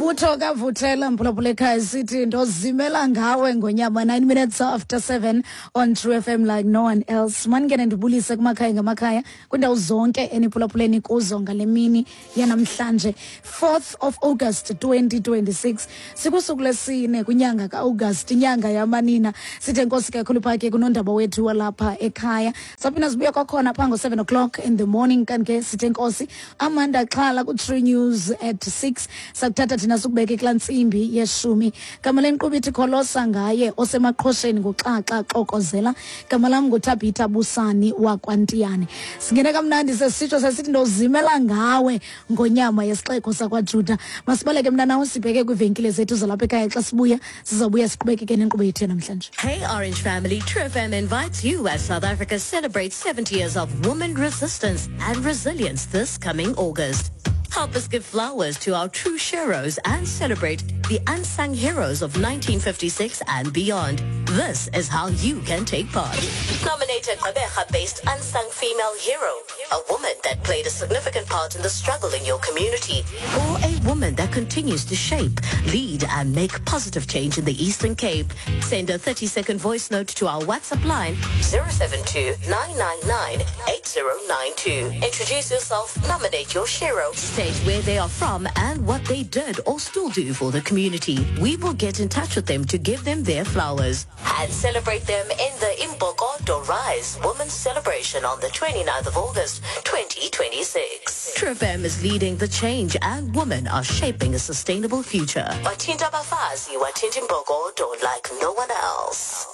Ngumbutho kaVuthela, mphulaphula ekhaya, sithi ndozimela ngawe ngonyama. 9 minutes after 7 on True FM like no one else. Maningene ndibulise kumakhaya ngamakhaya, kwindawo zonke eniphulaphuleni kuzo ngale mini yanamhlanje, 4th of August 2026. Sikusuku lesine kwinyanga ka-August, inyanga yamanina. Sithe nkosi kakhulu phake kunondaba wethu walapha ekhaya. Saphinda sibuya kwakhona phaa ngo-7 o'clock in the morning. Kanti ke sithe nkosi Amanda Xhala ku-True News at 6. Sakuthatha thina sikubeke kulaa ntsimbi yeshumi. Gama lenkqubo ithi Kholosa ngaye osemaqhosheni nguxaxa xokozela. Gama lam nguThabitha Busani wakwaNtiyane. Singene kamnandi sesitsho sesithi ndozimela ngawe ngonyama yesixeko sakwaJuda. Masibaleke mntanawo sibheke kwiivenkile zethu zalapha ekhaya. Xa sibuya sizawubuya siqhubekeke nenkqubo yethu yanamhlanje. Hey Orange family, True FM invites you as South Africa celebrates 70 years of woman resistance and resilience this coming August. Help us give flowers to our true sheroes and celebrate the unsung heroes of 1956 and beyond. This is how you can take part. Nominate a Gqeberha-based unsung female hero, a woman that played a significant part in the struggle in your community, or a woman that continues to shape, lead, and make positive change in the Eastern Cape. Send a 30-second voice note to our WhatsApp line 072-999-8092. Introduce yourself, nominate your shero, state where they are from and what they did or still do for the community. We will get in touch with them to give them their flowers and celebrate them in the Imbokodo Rise Women's Celebration on the 29th of August, 2026. True FM is leading the change and women are shaping a sustainable future. Wathinta abafazi, wathinta imbokodo like no one else.